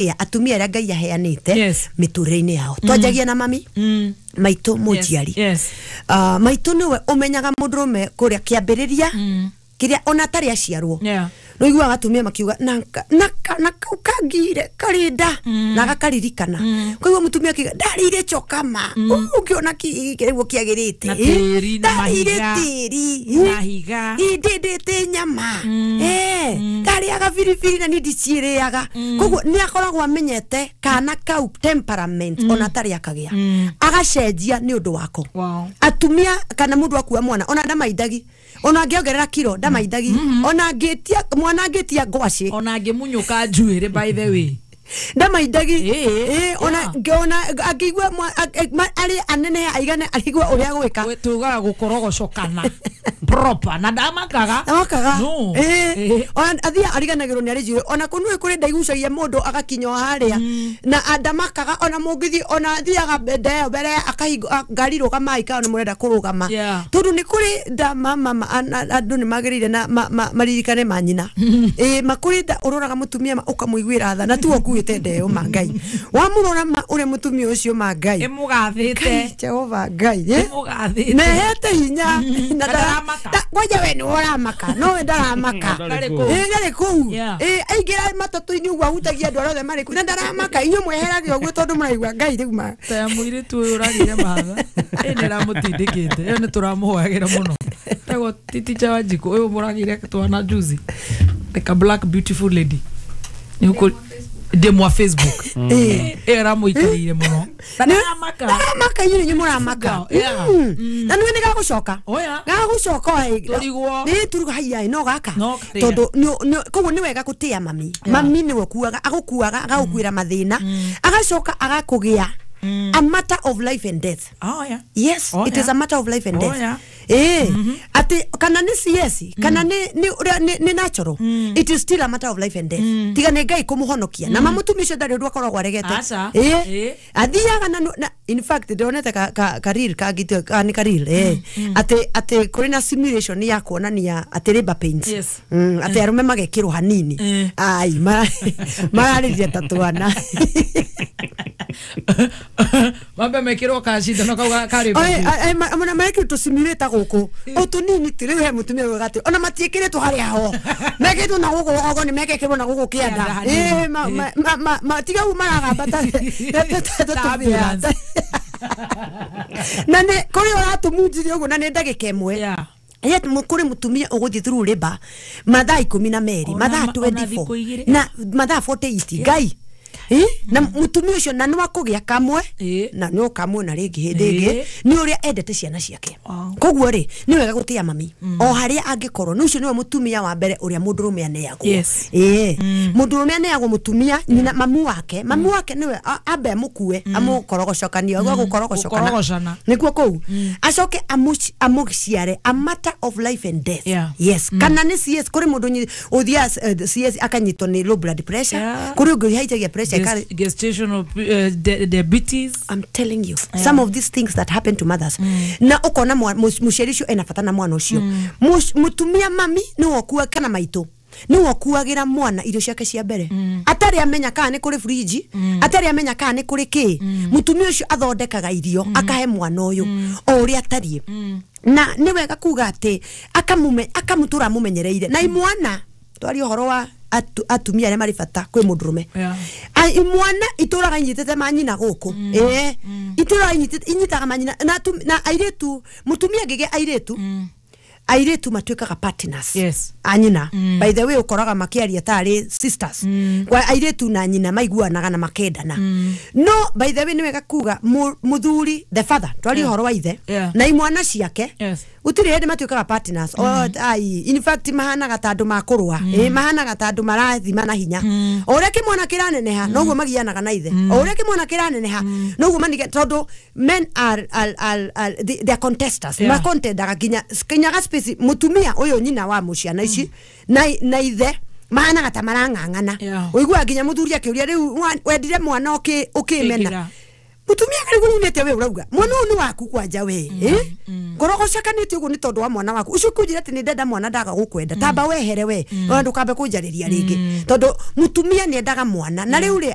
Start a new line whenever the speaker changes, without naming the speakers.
Gũtĩa atumia arĩa Ngai aheanĩte mĩtũrĩre-inĩ yao. Twanjagia na mami maitũ mũnjiari. Maitũ nĩwe ũmenyaga mũndũrũme kũrĩa kĩambĩrĩria kĩrĩa ona atarĩ aciarwo. Nĩ ũiguaga atumia makiuga na kau kangire karĩ nda na gakaririkana. Koguo mũtumia akiuga ndarĩire chokama ũngĩona kĩrĩguo kĩagĩrĩte.
Na tĩri, na
ndarĩire
mahiga.
Tĩri.
Mahiga.
Ndĩndĩte nyama. Ndarĩaga biribiri na niĩ ndiciĩrĩaga. Koguo nĩ akoragwo amenyete kana kau temperament ona atarĩ akagĩa, agacenjia nĩ ũndũ wako. Atumia kana mũndũ akua mwana ona ndamaindagi, ona angĩongerera kiro ndamaindagi, ona angĩtia mwana angĩtia ngwacĩ,
ona angĩmunyũka njuĩrĩ, by the way.
Ndamaindagi. Ona ona angĩigua arĩ anene aigane arigua ũrĩa gwĩka.
Tugaga gũkorogocokana proper na ndamakaga.
Amakaga.
No.
Ona athia ariganagĩrwo nĩ arĩ njuĩrĩ, ona kũnue kũrĩ ndaigucagia mũndũ agakinya o harĩa na ndamakaga, ona mũngĩthiĩ ona athiaga ndeo mbere akahingo ngari rũgamai kana nĩ mũrenda kũrũgama. Tondũ nĩ kũrĩ nda andũ nĩ magĩrĩire na maririkane manyina. Makũrĩ nda ũroraga mũtumia ũkamũiguĩra tha na tuo ũkuĩte ndeo ma Ngai wamũrora ma ũrĩa mũtumia ũcio ma Ngai.
Ĩmũgathĩte.
Jehova Ngai.
Ĩmũgathĩte.
Nehete hinya na
Na ndaramaka.
Kwanja we nĩ ũramaka no we ndaramaka.
Ndarĩ kũu.
Ndarĩ kũu.
Yeah.
Aingĩra matatũ-inĩ ũguo ahutagia andũ arĩa othe marĩ kũu na ndaramaka. Inyuĩ mweheragia ũguo tondũ mũraigua Ngai rĩu ma
Ta ya mũirĩtu ũyũ ũragĩire mahatha ĩ nĩ ĩramũtindĩkĩte ĩyo nĩ tũramũhoyagĩra mũno tagwo titicha wa njikũ ũyũ mũragĩire twana juzi, like a black beautiful lady nĩ ũkũ ndĩ mwa Facebook. Ĩyo ĩramũikarĩire mũno na ndaramaka.
Ndaramaka, inyuĩ nĩ mũramaka. Na nĩwe nĩ gagũcoka.
Oya.
Gagũcoka.
Tũrigwo.
Nĩ tũrigwo haiya no gaka.
No karĩa.
Tondũ koguo nĩ wega gũtĩa mami. Mami nĩwe ũkuaga, agũkuaga agagũkuĩra mathĩna, agacoka agakũgĩa a matter of life and death.
Oh, yeah.
Yes.
Oh,
It is
yeah.
a matter of life and
Oh,
death.
yeah.
Ati kana nĩ CS kana nĩ ũrĩa nĩ natural, it is still a matter of life and death, tiga nĩ Ngai kũmũhonokia na mamũtumia ũcio ndarĩ ũndũ akoragwo aregete.
Aca.
Athiaga na in fact ndonete ka reel kangĩ ka nĩ ka reel atĩ kũrĩ na simulation ya kuonania atĩ labor pains. Atĩ arũme magekĩrwo hanini. Ai mararĩria ta twana.
Mambe mekĩrwo kacindano kau karĩ.
Ona marekĩrwo tũsimulate gũkũ o tũnini ti rĩu he mũtumia ugaga atĩ ona matiĩkĩrĩtwo harĩa ho mekĩtwo na gũkũ rũgongo nĩ mekekĩrwo na gũkũ kĩanda.
Kĩanda hanini.
Tiga ũguo maragamba ta
Ta ambulance.
Na nĩ kũrĩ ũratũmunjirie ũguo na nĩ ndagĩka ĩmwe. Yet kũrĩ mũtumia ũgũthiĩ through labor mathaa 12, mathaa
ona
24,
thikũ 2.
Na mathaa 48 Ngai. Na mũtumia ũcio na nĩwakũgĩa kamwe na no kamwe na rĩngĩ hĩndĩ ĩngĩ nĩ ũrĩa endete ciana ciake. Koguo rĩ nĩ wega gũtĩa mami o harĩa angĩkorwo nĩ ũcio nĩwe mũtumia wa mbere ũrĩa mũndũrũme aneagwo. Mũndũrũme aneagwo mũtumia nyina mamu wake. Mamu wake nĩwe ambe amũkue amũkorogocokania ũguo gũkorogocokana.
Gũkorogocana.
Nĩkuo kũu acoke amũciare, a matter of life and death. Yes, kana nĩ CS kũrĩ mũndũ ũthiaga CS akanyitwo nĩ low blood pressure. Kũrĩ ũngĩ ũhaicagia pressure
Gestational diabetes.
I'm telling you, some of these things that happen to mothers na ukona mũciari ũcio ena bata na mwana ũcio. Mũtumia mami nĩwe ũkua kana maitũ nĩwe ũkuagĩra mwana irio ciake cia mbere atarĩ amenya kana nĩ kũrĩ fridge, atarĩ amenya kana nĩ kũrĩ kĩ. Mũtumia ũcio athondekaga irio akahe mwana ũyũ o ũrĩa atariĩ na nĩ wega kuga atĩ akamũtũra amũmenyereire na imwana twaria ũhoro wa atumia arĩa marĩ bata kwĩ mũndũrũme. Imwana itũraga inyitĩte manyina gũkũ, itũraga inyitaga manyina na na airĩtu mũtumia angĩgĩa airĩtu, airĩtu matuĩkaga partners anyina. By the way, ũkoraga makĩaria tarĩ sisters kwa airĩtu na nyina maiguanaga na makendana. No by the way, nĩ wega kuga mũthuri, the father, twarie ũhoro wa ithe na imwana ciake, gũtirĩ hĩndĩ matuĩkaga partners. Ai, in fact mahanaga ta andũ makũrũa. Mahanaga ta andũ marathima na hinya. O ũrĩa kĩmwana kĩraneneha noguo magianaga na ithe, o ũrĩa kĩmwana kĩraneneha noguo manige, tondũ men are they are contesters. Makontendaga nginya ga space mũtumia ũyũ nyina wa mũciana ici na ithe mahanaga ta marang'ang'ana. Ũiguaga nginya mũthuri akĩũria rĩu wendire mwana ũkĩmena.
Ĩkĩra.
Mutumia kari kunete we urauga mwana uyu ni waku kwanja we, eh, ngorogo cakanite uguo ni tondu wa mwana waku ucio kunjira ati ni ndenda mwana ndaga gukwenda, tamba wehere we ona ndukambe kunjariria ringi, tondu mutumia ni endaga mwana na riu ri.